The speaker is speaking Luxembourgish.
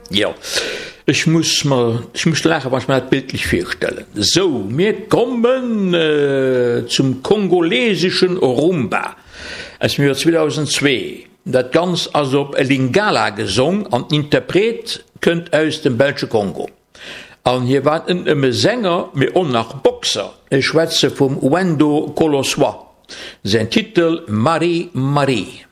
Jo, ech muss mer, ech muss laachen, wann ech mer dat bildlech virstellen. Sou, mir kommen zum kongoleseschen Rumba aus dem Joer 2002. Dat Ganzt ass op Lingala gesong an den Interpret kënnt aus dem belsche Kongo. An hie war net nëmme Sänger, mee och nach Boxer. Ech schwätze vum Wendo Koloswa. Säin Titel Marie Marie.